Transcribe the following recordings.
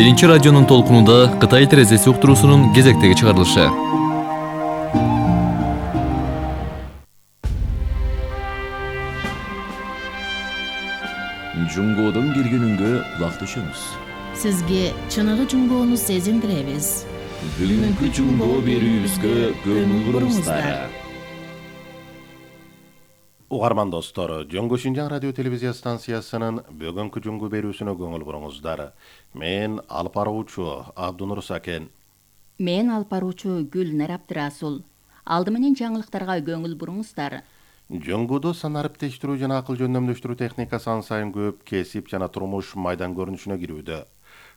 Биринчи радионун толкунунда Кытай терезеси уктуруусунун кезектеги чыгарылышы. Жунгодон келгенүнгө кулак түшөмүз. Сизге чыныгы жунгоону сезиндиребиз. Бүгүнкү жунгоо берүүбүзгө көңүл буруңуздар. Угарман достор, Жоңго Шинжаң радио телевизия станциясынын бүгүнкү жунгу берүүсүнө көңүл буруңуздар. Мен алып баруучу Абдунур Сакен. Мен алып баруучу Гүлнар Абдырасул. Алды менен жаңылыктарга көңүл буруңуздар. Жоңгодо санариптештирүү жана акыл жөндөмдөштүрүү техникасы ан сайын көп кесип жана турмуш майдан көрүнүшүнө кирүүдө.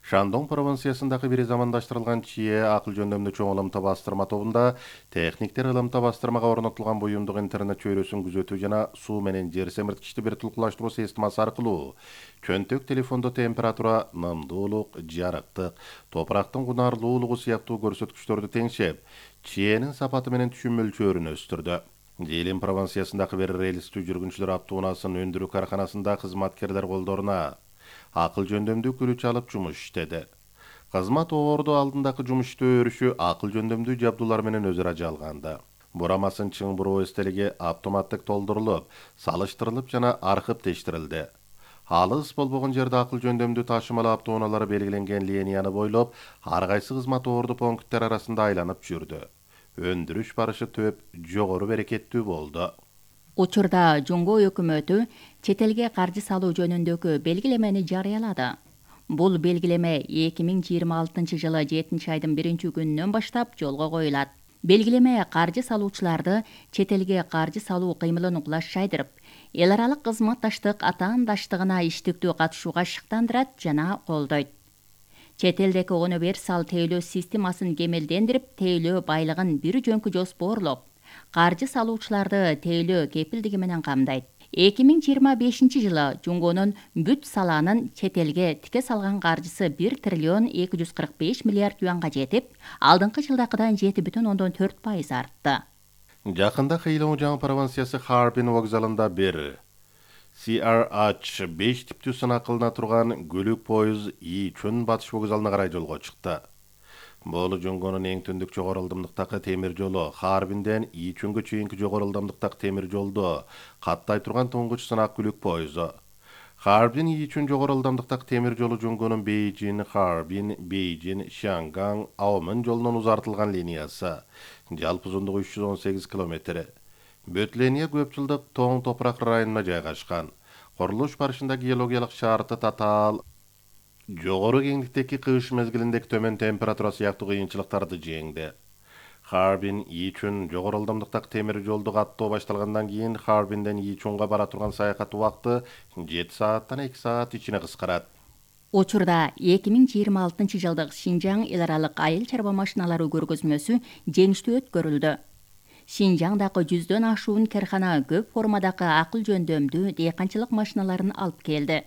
Шандон провинциясындагы бир замандаштырылган чие акыл жөндөмдүү чоң ылымта бастырма тобунда техниктер ылымта бастырмага орнотулган буюмдук интернет чөйрөсүн күзөтүү жана суу менен жер семирткичти бир тулкулаштыруу системасы аркылуу чөнтөк телефондо температура, нымдуулук, жарыктык, топурактын кунарлуулугу сыяктуу көрсөткүчтөрдү теңшеп, чиенин сапаты менен түшүм мөлчөрүн өстүрдү. Жээлин провинциясындагы бир рельстүү жүргүнчүлөр автоунаасын өндүрүү карканасында кызматкерлер колдоруна акыл жөндөмдүү күрүч алып жумуш иштеди. Кызмат оорду алдындагы жумуштуу өрүшү акыл жөндөмдүү жабдуулар менен өзара жалганды. Бурамасын чың буруу эстелиги автоматтык толдурулуп, салыштырылып жана аркып тештирилди. Алыс болбогон жерде акыл жөндөмдүү ташымал автоунаалары белгиленген линияны бойлоп, ар кайсы кызмат оорду пункттер арасында айланып жүрдү. Өндүрүш барышы төп, жогору берекеттүү болду. Учурда Жоңго өкмөтү чет элге каржы салуу жөнүндөгү белгилемени жарыялады. Бул белгилеме 2026 жылы 7-айдын 1-күнүнөн баштап жолго коюлат. Белгилеме каржы салуучуларды чет элге каржы салуу кыймылын улашчайдырып, эл аралык кызматташтык атаандаштыгына иштиктүү катышууга шыктандырат жана колдойт. Чет элдеги универсал тейлөө системасын кемелдендирип, тейлөө байлыгын бир жөнкү жоспоорлоп, каржы салуучуларды тейлөө кепилдиги менен камдайт. 2025 жылы Жоңгонун бүт салаанын чет элге тике салган каржысы 1 триллион 245 миллиард юанга жетип, алдыңкы жылдакыдан 7,4% артты. Жакында Хэйлоңжаң провинциясы Харбин вокзалында бир CRH-5 типтүү сынак кылына турган көлүк поезд Ичүн батыш вокзалына карай жолго чыкты. Бул Жоңгонун эң түндүк жогору ылдамдыктагы темир жолу Харбинден Ичүнгө чейинки жогору ылдамдыктагы темир жолду каттай турган туңгуч сынак көлүк поезду. Харбин Ичүн жогору ылдамдыктагы темир жолу Жоңгонун Бейжин, Харбин, Бейжин, Шанган, Аомын жолунун узартылган линиясы. Жалпы узундугу 318 километр. Бүт линия көп жылдык тоң топурак районуна жайгашкан. Курулуш барышында геологиялык шарты татаал, жогору кеңдиктеги кыш мезгилиндеги төмөн температура сыяктуу кыйынчылыктарды жеңди. Харбин Ичүн жогору ылдамдыктагы темир жолду каттоо башталгандан кийин Харбинден Ичүнга бара турган саякат убакыты 7 сааттан 2 саат ичине кыскарат. Учурда 2026 жылдык Шинжаң эл аралык айыл чарба машиналары көргөзмөсү жеңиштүү өткөрүлдү. Шинжаңдагы 100дөн ашуун кархана көп формадагы акыл жөндөмдүү дыйканчылык машиналарын алып келди.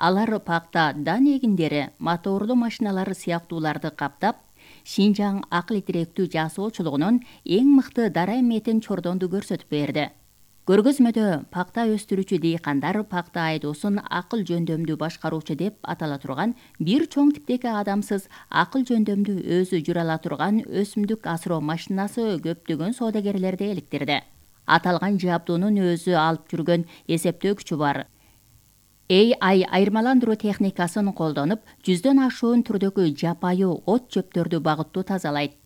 Алар пакта, дан эгиндери, моторлуу машиналар сыяктууларды каптап, Шинжаң акыл тиректүү жасоочулугунун эң мыкты дара эметин чордонду көрсөтүп берди. Көргөзмөдө пакта өстүрүүчү дыйкандар пакта айдоосун акыл жөндөмдүү башкаруучу деп атала турган бир чоң типтеги адамсыз акыл жөндөмдүү өзү жүрө ала турган өсүмдүк асыроо машинасы көптөгөн соодагерлерди эликтирди. Аталган жабдуунун өзү алып жүргөн эсептөө күчү бар. AI айырмаландыруу техникасын колдонуп, 100дөн ашуун түрдөгү жапайы от чөптөрдү багыттуу тазалайт.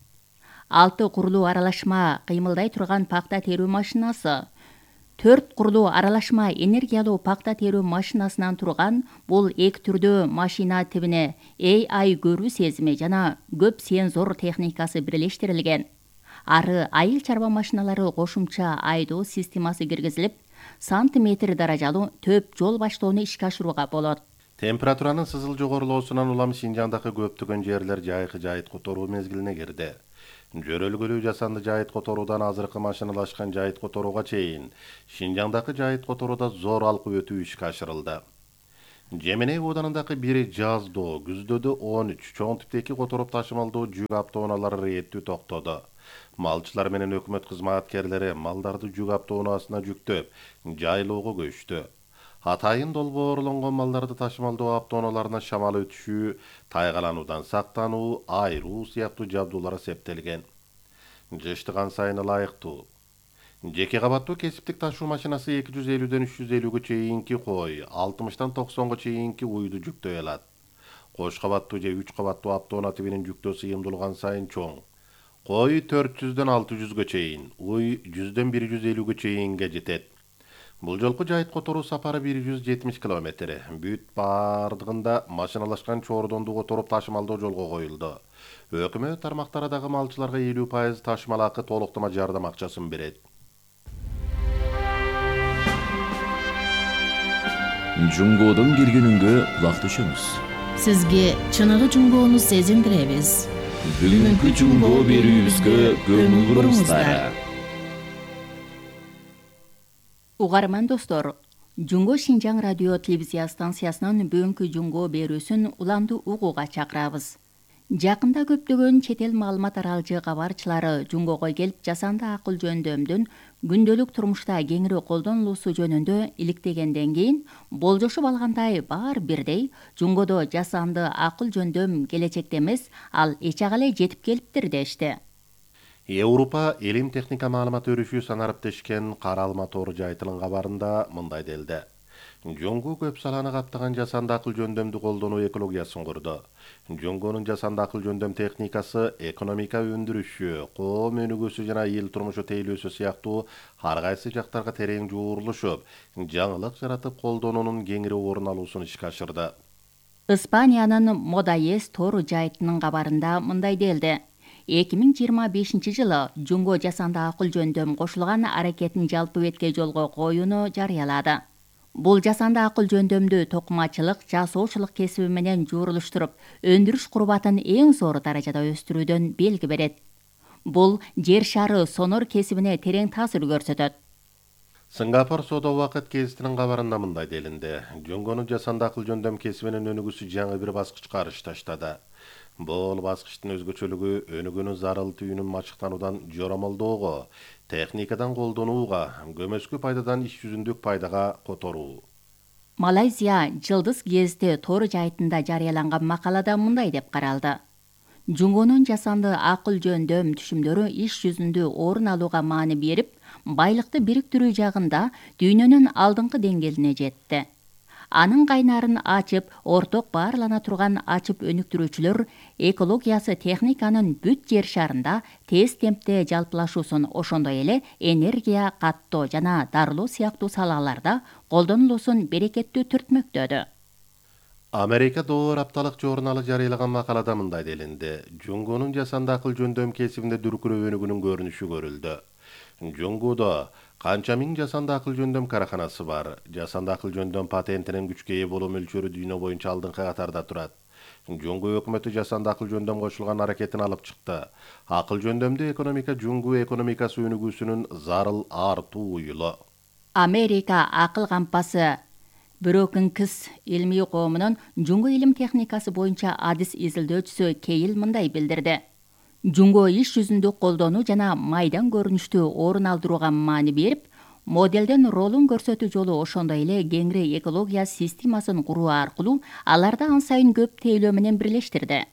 6 курлуу аралашма кыймылдай турган пакта терүү машинасы, 4 курлуу аралашма энергиялуу пакта терүү машинасынан турган бул эки түрдүү машина тибине AI көрүү сезими жана көп сензор техникасы бирлештирилген. Ары айыл чарба машиналары кошумча айдоо системасы киргизилип, сантиметр даражалуу төп жол баштоону ишке ашырууга болот. Температуранын сызыл жогорулоосунан улам Шинжаңдагы көптөгөн жерлер жайкы жайыт которуу мезгилине кирди. Жөрөлгөлүү жасанды жайыт которуудан азыркы машиналашкан жайыт которууга чейин Шинжаңдагы жайыт которууда зор алкып өтүү ишке ашырылды. Жеменей ооданындагы бир жаздоо күздөөдө 13 чоң типтеги которуп ташымалдуу жүк автоунаалары реттүү токтоду. Малчылар менен өкмөт кызматкерлери малдарды жүк автоунаасына жүктөп, жайлоого көчтү. Атайын долбоорлонгон малдарды ташымалдоо автоунааларына шамал өтүшүү, тайгалануудан сактануу, айыруу сыяктуу жабдуулар эсептелген. Жыштыган сайын ылайыктуу. Жеке кабаттуу кесиптик ташуу машинасы 250ден 350ге чейинки кой, 60тан 90га чейинки уйду жүктөй алат. Кош кабаттуу же 3 кабаттуу автоунаа тибинин жүктөө сыйымдуулган сайын чоң. Кой 400ден 600ге чейин, уй 100ден 150ге чейинге жетет. Бул жолку жайыт которуу сапары 170 километр. Бүт бардыгында машиналашкан чордонду которуп ташымалдоо жолго коюлду. Өкмөт тармактары дагы малчыларга 50% ташымал акы толуктама жардам акчасын берет. Жунгодон киргенүнгө кулак түшөмүз. Сизге чыныгы жунгоону сезиндиребиз. Бүгүнкү жунгоо берүүбүзгө көңүл буруңуздар. Угарман достор, Жунго Шинжаң радио телевизия станциясынын бүгүнкү жунгоо берүүсүн уланды угууга чакырабыз. Жакында көптөгөн чет эл маалымат аралжы кабарчылары жунгого келип жасанды акыл жөндөмдүн күндөлүк турмушта кеңири колдонулуусу жөнүндө иликтегенден кийин болжошуп алгандай баары бирдей жунгодо жасанды акыл жөндөм келечекте эмес, ал эч ага эле жетип келиптир дешти. Европа элим техника маалымат өрүшүү санариптешкен Каралма тору жайтынын кабарында мындай делди. Жунгу көп саланы каптаган жасанды акыл жөндөмдү колдонуу экологиясын курду. Жунгонун жасанды акыл жөндөм техникасы экономика өндүрүшү, коом өнүгүүсү жана эл турмушу тейлөөсү сыяктуу ар кайсы жактарга терең жуурулушуп, жаңылык жаратып колдонуунун кеңири орун алуусун ишке ашырды. Испаниянын Модайес тору жайтынын кабарында мындай делди. 2025-жылы Жунго жасанды акыл жөндөм кошулган аракетин жалпы бетке жолго коюуну жарыялады. Бул жасанды акыл жөндөмдү токумачылык, жасоочулук кесиби менен жуурулуштуруп, өндүрүш курбатын эң зор даражада өстүрүүдөн белги берет. Бул жер шары сонор кесибине терең таасир көрсөтөт. Сингапур соода убакыт гезитинин кабарында мындай делинди. Жунгонун жасанды акыл жөндөм кесибинин өнүгүүсү жаңы бир баскычка арыш таштады. Бул баскычтын өзгөчөлүгү өнүгүүнүн зарыл түйүнүн мачыктануудан жоромолдоого, техникадан колдонууга, көмөскү пайдадан иш жүзүндүк пайдага которуу. Малайзия Жылдыз гезити тору жайтында жарыяланган макалада мындай деп каралды. Жунгонун жасанды акыл жөндөм түшүмдөрү иш жүзүндө орун алууга маани берип, байлыкты бириктирүү жагында дүйнөнүн алдыңкы деңгээлине жетти. Анын кайнарын ачып, орток баарлана турган ачып өнүктүрүүчүлөр экологиясы техниканын бүт жер шарында тез темпте жалпылашуусун, ошондой эле энергия каттоо жана дарылоо сыяктуу салаларда колдонулуусун берекеттүү түртмөктөдү. Америка Door апталык журналы жарыялаган макалада мындай делинди. Жунгонун жасанды акыл жөндөм кесибинде дүркүрөө өнүгүүнүн көрүнүшү көрүлдү. Жунгудо канча миң жасанды акыл жөндөм караханасы бар. Жасанды акыл жөндөм патентинин күчкө ээ болуу мөлчөрү дүйнө боюнча алдыңкы катарда турат. Жунгу өкмөтү жасанды акыл жөндөм кошулган аракетин алып чыкты. Акыл жөндөмдү экономика жунгу экономикасы өнүгүүсүнүн зарыл артуу уюлу. Америка акыл кампасы Brookings илмий коомунун жунгу илим техникасы боюнча адис изилдөөчүсү Кейл мындай билдирди. Жунго иш жүзүндө колдонуу жана майдан көрүнүштү орун алдырууга маани берип, моделден ролун көрсөтүү жолу ошондой эле кеңири экология системасын куруу аркылуу аларды ан сайын көп тейлөө менен бирлештирди.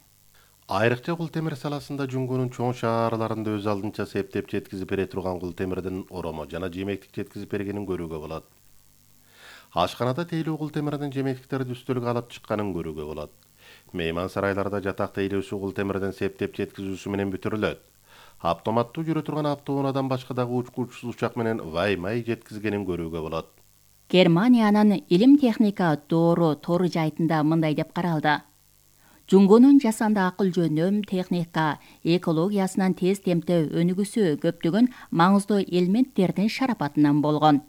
Айрыкча кул темир саласында жунгунун чоң шаарларында өз алдынча септеп жеткизип бере турган кул темирдин оромо жана жемектик жеткизип бергенин көрүүгө болот. Ашканада тейлөө кул темирдин жемектиктерди үстөлгө алып чыкканын көрүүгө болот. Мейман сарайларда жатак тейлөөсү кул темирден септеп жеткизүүсү менен бүтүрүлөт. Автоматтуу жүрө турган автоунаадан башка дагы учкучсуз учак менен ваймай жеткизгенин көрүүгө болот. Германиянын илим техника доору тору жайтында мындай деп каралды. Жунгонун жасанды акыл жөндөм техника экологиясынан тез темпте өнүгүүсү көптөгөн маңыздуу элементтердин шарапатынан болгон.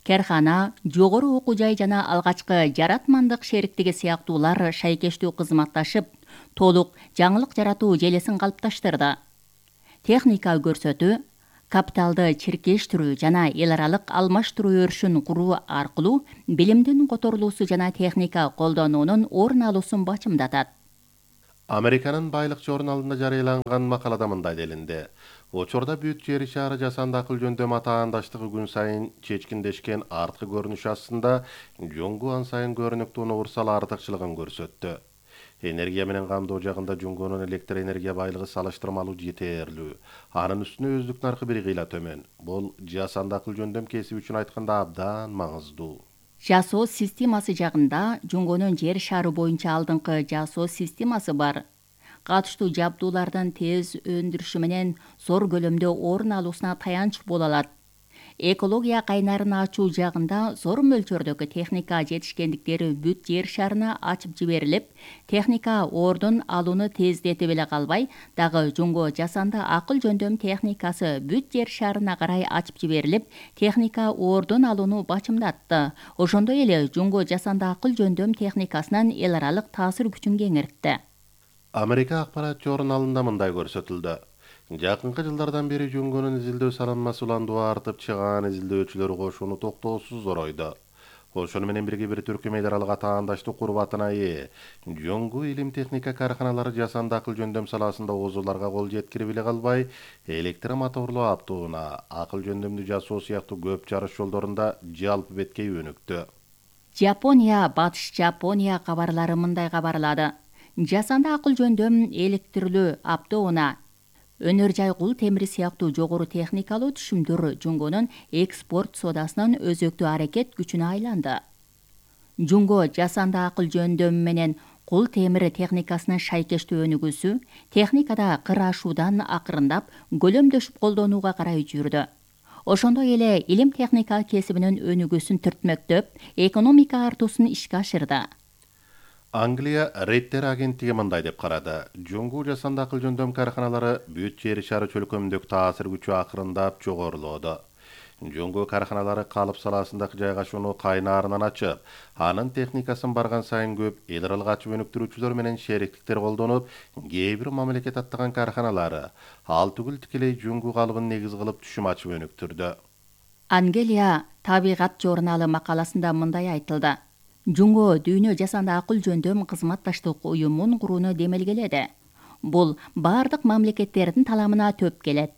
Керхана, жогору окуу жай жана алгачкы жаратмандык шериктиги сыяктуулар шайкештүү кызматташып, толук жаңылык жаратуу желесин калыпташтырды. Техника көрсөтүү, капиталды чиркештирүү жана эл аралык алмаштыруу өрүшүн куруу аркылуу билимдин которулуусу жана техника колдонуунун орун алуусун бачымдатат. Американын байлык журналында жарыяланган макалада мындай делинди. Учурда бүт жер шары жасанды акыл жөндөм атаандаштыгы күн сайын чечкиндешкен арткы көрүнүш астында Жуңгу ан сайын көрүнүктүү универсал артыкчылыгын көрсөттү. Энергия менен камдоо жагында Жуңгунун электр энергия байлыгы салыштырмалуу жетерлүү. Анын үстүнө өздүк наркы бир кыйла төмөн. Бул жасанды акыл жөндөм кесиби үчүн айтканда абдан маңыздуу. Жасоо системасы жагында Жуңгунун жер шары боюнча алдыңкы жасоо системасы бар. Катыштуу жабдуулардын тез өндүрүшү менен зор көлөмдө орун алуусуна таянч боло алат. Экология кайнарын ачуу жагында зор мөлчөрдөгү техника жетишкендиктери бүт жер шарына ачып жиберилип, техника ордун алууну тездетип эле калбай, дагы Жуңго жасанды акыл жөндөм техникасы бүт жер шарына карай ачып жиберилип, техника ордун алууну бачымдатты. Ошондой эле Жуңго жасанды акыл жөндөм техникасынын эл аралык таасир күчүн кеңейтти. Америка акпарат журналында мындай көрсөтүлдү. Жакынкы жылдардан бери Жуңгунун изилдөө салынмасы уландуу артып, чыгаан изилдөөчүлөр кошуну токтоосуз зоройду. Ошону менен бирге бир түркүм эл аралык атаандаштык курбатына ээ. Жуңгу илим техника карканалары жасанды акыл жөндөм саласында озуларга кол жеткирип эле калбай, электромоторлуу автоунаа, акыл жөндөмдү жасоо сыяктуу көп жарыш жолдорунда жалпы беткей өнүктү. Жапония, Батыш Жапония кабарлары мындай кабарлады. Жасанды акыл жөндөм электрлүү автоунаа, өнөр жай кул темири сыяктуу жогору техникалуу түшүмдөр Жуңгонун экспорт содасынын өзөктүү аракет күчүнө айланды. Жуңго жасанды акыл жөндөм менен кул темири техникасынын шайкештүү өнүгүүсү техникада кыр ашуудан акырындап көлөмдөшүп колдонууга карай жүрдү. Ошондой эле илим техника кесибинин өнүгүүсүн түртмөктөп, экономика артуусун ишке ашырды. Англия Рейтер агенттиги мындай деп карады. Жуңгу жасанды акыл жөндөм карканалары бүт жер шары чөлкөмүндөгү таасир күчү акырындап жогорулоодо. Жуңгу карканалары калып саласындагы жайгашууну кайнаарынан ачып, анын техникасын барган сайын көп эл аралык ачып өнүктүрүүчүлөр менен шериктиктер колдонуп, кээ бир мамлекет аттаган карканалары ал түгүл тикелей Жуңгу калыбын негиз кылып түшүм ачып өнүктүрдү. Ангелия табигат журналы макаласында мындай айтылды. Жуңго дүйнө жасанды акыл жөндөм кызматташтык уюмун курууну демелгеледи. Бул бардык мамлекеттердин таламына төп келет.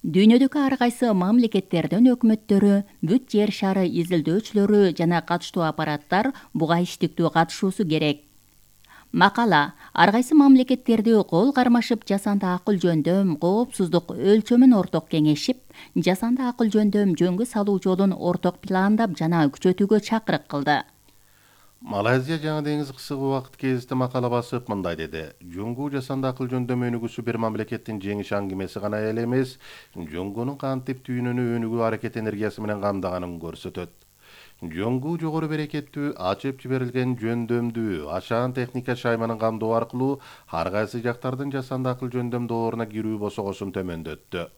Дүйнөдөгү ар кайсы мамлекеттердин өкмөттөрү, бүт жер шары изилдөөчүлөрү жана катыштуу аппараттар буга иштиктүү катышуусу керек. Макала ар кайсы мамлекеттерди кол кармашып жасанды акыл жөндөм коопсуздук өлчөмүн орток кеңешип, жасанды акыл жөндөм жөнгө салуу жолун орток пландап жана күчөтүүгө чакырык кылды. Малайзия жаңы деңиз кысык убакыт кезинде макала басып мындай деди. Жуңгу жасанды акыл жөндөм өнүгүүсү бир мамлекеттин жеңиш аңгемеси гана эле эмес, Жуңгунун кантип дүйнөнү өнүгүү аракет энергиясы менен камдаганын көрсөтөт. Жуңгу жогору берекеттүү, ачып жиберилген жөндөмдүү, ашаан техника шайманын камдоо аркылуу ар кайсы жактардын жасанды акыл жөндөм дооруна кирүү босогосун төмөндөттү.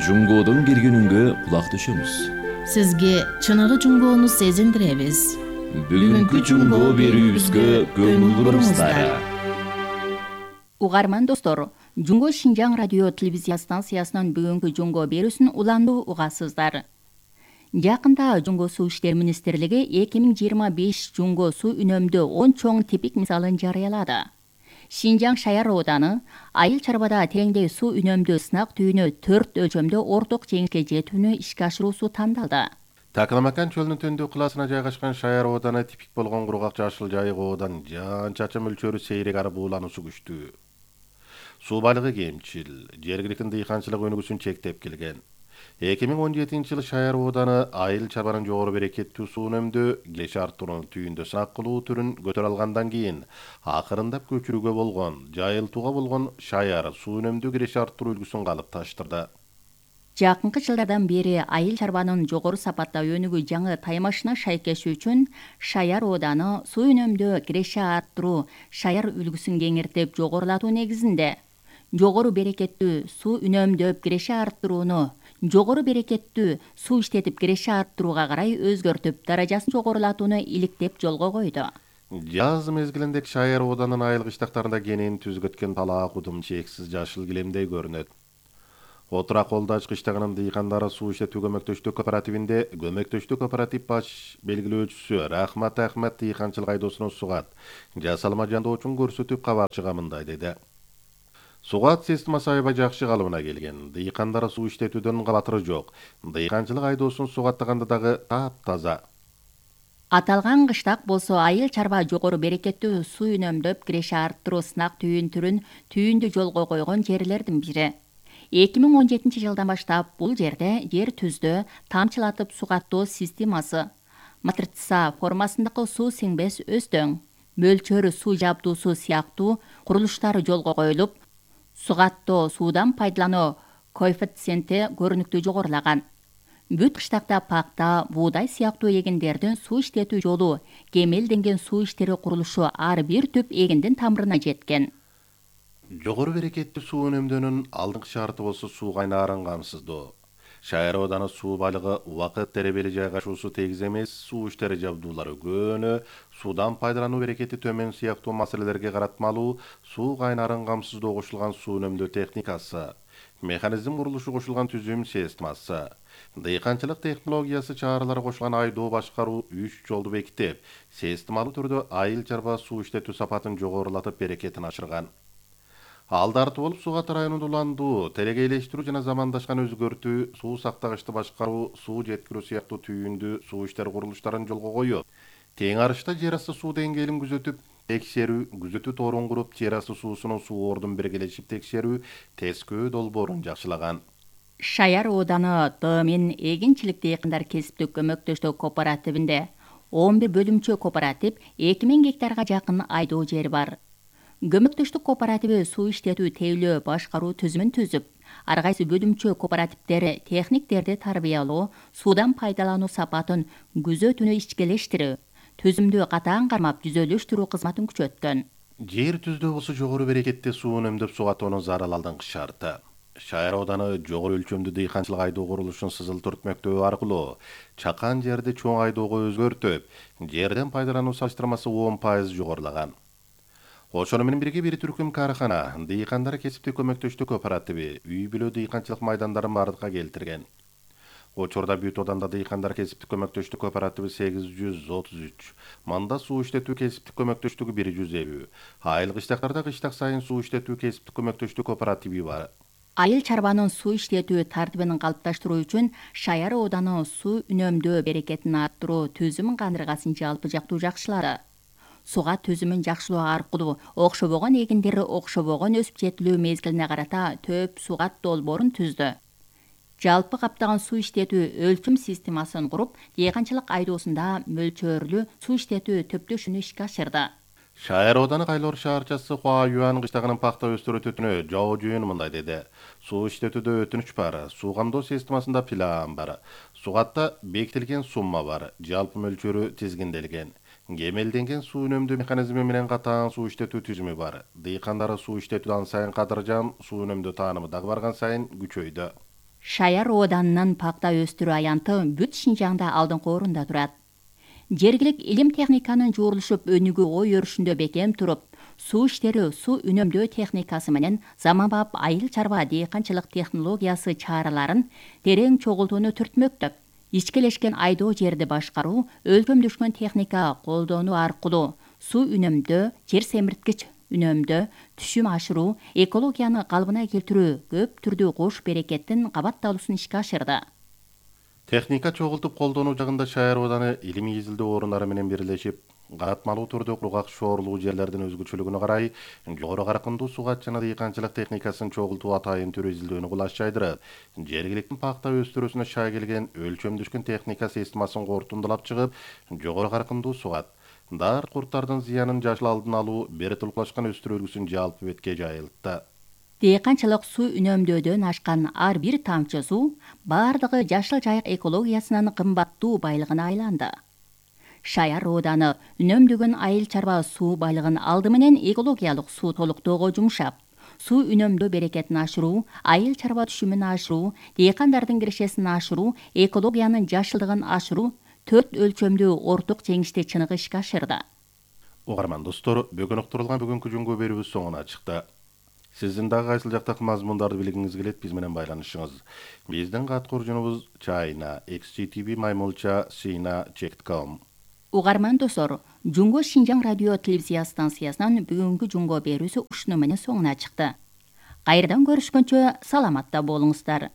Жуңгодон келгенүнгө кулак түшөмүз. Сизге чыныгы Жуңгону сезиндиребиз. Бүгүнкү Жуңго берүүбүзгө көңүл буруңуздар. Угарман достор, Жуңго Шинжаң радио телевизия станциясынын бүгүнкү Жуңго берүүсүн уландуу угасыздар. Жакында Жуңго суу иштер министрлиги 2025 Жуңго суу үнөмдөө 10 чоң типик мисалын жарыялады. Шинжаң шаяр ооданы айыл чарбада теңдей суу үнөмдөө сынак түйүнү 4 өлчөмдө орток жеңишке жетүүнү ишке ашыруусу тандалды. Такламакан чөлүнүн төндүк кылаасына жайгашкан шаяр ооданы типик болгон кургак жашыл жайык оодан жаан чачым мөлчөрү сейрек ары буулануусу күчтүү. Суу байлыгы кемчил, жергиликтин дыйканчылык өнүгүүсүн чектеп келген. 2017-жылы шаяр ооданы айыл чарбанын жогору берекеттүү суу үнөмдөө киреше арттырууну түйүндө сынак кылуу түрүн көтөрө алгандан кийин акырындап көчүрүүгө болгон, жайылтууга болгон шаяр суу үнөмдөө киреше арттыруу үлгүсүн калыпташтырды. Жакынкы жылдардан бери айыл чарбанын жогору сапатта өнүгүү жаңы таймашына шайкешүү үчүн шаяр ооданы суу үнөмдөө киреше арттыруу шаяр үлгүсүн кеңиртип жогорулатуу негизинде жогору берекеттүү суу үнөмдөп киреше арттырууну жогору берекеттүү суу иштетип киреше арттырууга карай өзгөртүп, даражасын жогорулатууну иликтеп жолго койду. Жаз мезгилинде шаяр ооданын айыл кыштактарында кенен түзгөткөн талаа кудум чексиз жашыл килемдей көрүнөт. Отура колдо ачкы иштегенин дыйкандары суу иштетүү көмөктөштүк кооперативинде көмөктөштүк кооператив баш белгилөөчүсү Рахмат Ахмет дыйканчылык айдоосунун сугат жасалма жандоочун көрсөтүп кабарчыга мындай деди. Сугат системасы аябай жакшы калыбына келген. Дыйкандар суу иштетүүдөн кабатыры жок. Дыйканчылык айдоосун сугаттаганда дагы таптаза. Аталган кыштак болсо айыл чарба жогору берекеттүү суу үнөмдөп киреше арттыруу сынак түйүндү жолго койгон жерлердин бири. 2017 жылдан баштап бул жерде жер түздө тамчылатып сугаттоо системасы, матрица формасындагы суу сиңбес өстөң, мөлчөрү суу жабдуусу сыяктуу курулуштар жолго коюлуп, сугаттоо суудан пайдалануу коэффициенти көрүнүктүү жогорулаган. Бүт кыштакта пакта, буудай сыяктуу эгиндердин суу иштетүү жолу, кемелденген суу иштери курулушу ар бир түп эгиндин тамырына жеткен. Жогору берекеттүү суу үнөмдөөнүн алдыңкы шарты болсо суу кайнаарын камсыздоо. Шаар ооданы суу байлыгы убакыт теребели жайгашуусу тегиз эмес, суу иштери жабдуулары көөнө, суудан пайдалануу берекети төмөн сыяктуу маселелерге каратмалуу суу кайнаарын камсыздоо кошулган суу үнөмдөө техникасы, механизм курулушу кошулган түзүм системасы, дыйканчылык технологиясы чаралары кошулган айдоо башкаруу 3 жолду бекитип, системалуу түрдө айыл чарба суу иштетүү сапатын жогорулатып берекетин ашырган. Алдарты болуп Сугат районунда уландуу, телегейлештирүү жана замандашкан өзгөртүү, суу сактагычты башкаруу, суу жеткирүү сыяктуу түйүндү суу иштери курулуштарын жолго коюп, тең арышта жер асты суу деңгээлин күзөтүү тоорун куруп, жер асты суусунун суу ордун биргелешип текшерүү, тескөө долбоорун жакшылаган. Шаяр ооданы Дымин эгинчилик дыйкандар кесиптик көмөктөштүк кооперативинде 11 бөлүмчө кооператив 2000 гектарга жакын айдоо жери бар. Көмөктөштүк кооперативи суу иштетүү тейлөө башкаруу түзүмүн түзүп, ар кайсы бөлүмчө кооперативдери техниктерди тарбиялоо, суудан пайдалануу сапатын күзөтүүнү ичкелештирүү, түзүмдү катаан кармап түзөлүштүрүү кызматын күчөткөн. Жер түздөө болсо жогору берекетти суу үнөмдөп сугатоонун зарыл алдыңкы шарты. Шаар ооданы жогору өлчөмдүү дыйканчылык айдоо курулушун сызылтырып өтмөктөө аркылуу чакан жерди чоң айдоого өзгөртүп, жерден пайдалануу салыштырмасы 10% жогорулаган. Ошону менен бирге бир түркүм каархана, дыйкандар кесиптик көмөктөштүк кооперативи үй бүлө дыйканчылык майдандарын бардыкка келтирген. Учурда бүт ооданда дыйкандар кесиптик көмөктөштүк кооперативи 833, манда суу иштетүү кесиптик көмөктөштүгү 150, айыл кыштактарда кыштак сайын суу иштетүү кесиптик көмөктөштүк кооперативи бар. Айыл чарбанын суу иштетүү тартибин калыпташтыруу үчүн Шаяр ооданы суу үнөмдөө берекетин арттыруу түзүм кандыргасын жалпы жактуу жакшылады. Суга түзүмүн жакшылоо аркылуу окшобогон эгиндери окшобогон өсүп жетилүү мезгилине карата төп сугат долбоорун түздү. Жалпы каптаган суу иштетүү өлчөм системасын куруп, дыйканчылык айдоосунда мөлчөрлүү суу иштетүү төптөшүнү ишке ашырды. Шаяр ооданы Кайлор шаарчасы Хуа Юан кыштагынын пакта өстүрөтүнө Жоо Жүйүн мындай деди. Суу иштетүүдө өтүнүч бар, суу камдоо системасында план бар, сугатта бекитилген сумма бар, жалпы мөлчөрү тизгинделген. Кемелденген суу үнөмдөө механизми менен катаан суу иштетүү түзүмү бар. Дыйкандары суу иштетүүдөн сайын кадыржан, суу үнөмдөө таанымы дагы барган сайын күчөйдү. Шаяр ооданынын пакта өстүрүү аянты бүт Шинжаңда алдыңкы орунда турат. Жергилик илим техниканын жуурулушуп өнүгүү ой өрүшүндө бекем туруп, суу иштери суу үнөмдөө техникасы менен заманбап айыл чарба дыйканчылык технологиясы чараларын терең чогултууну түртмөктөп, ичкелешкен айдоо жерди башкаруу, өлчөмдөшкөн техника колдонуу аркылуу суу үнөмдөө, жер семирткич үнөмдөө, түшүм ашыруу, экологияны калыбына келтирүү көп түрдүү кош берекеттин кабатталуусун ишке ашырды. Техника чогултуп колдонуу жагында Шаяр ооданы илимий изилдөө орундары менен бирлешип, каатмалуу түрдө кургак шоорлуу жерлердин өзгөчөлүгүнө карай жогору каркындуу сугат жана дыйканчылык техникасын чогултуу атайын түрү изилдөөнү кулаш жайдырат. Жергиликтин пакта өстүрүүсүнө шай келген өлчөмдөшкөн техника системасын кортундулап чыгып, жогору каркындуу сугат, дар курттардын зыянын жашыл алдын алуу бир тулкулашкан өстүрүү үлгүсүн жалпы бетке жайылтты. Дыйканчылык суу үнөмдөөдөн ашкан ар бир тамчы суу бардыгы Жашыл Жайык экологиясынын кымбаттуу байлыгына айланды. Шаяр ооданы үнөмдөгөн айыл чарба суу байлыгын алды менен экологиялык суу толуктоого жумшап, суу үнөмдөө берекетин ашыруу, айыл чарба түшүмүн ашыруу, дыйкандардын кирешесин ашыруу, экологиянын жашылдыгын ашыруу 4 өлчөмдүү орток жеңишти чыныгы ишке ашырды. Угарман достор, бүгүн уктурулган бүгүнкү жөнгө берүүбүз соңуна чыкты. Сиздин дагы кайсыл жактагы мазмундарды билгиңиз келет, биз менен байланышыңыз. Биздин каткуржунубуз China xgtv@sina.com. Угарман достор, Жунго Шинжаң радио телевизия станциясынан бүгүнкү жунго берүүсү ушуну менен соңуна чыкты. Кайрадан көрүшкөнчө саламатта болуңуздар.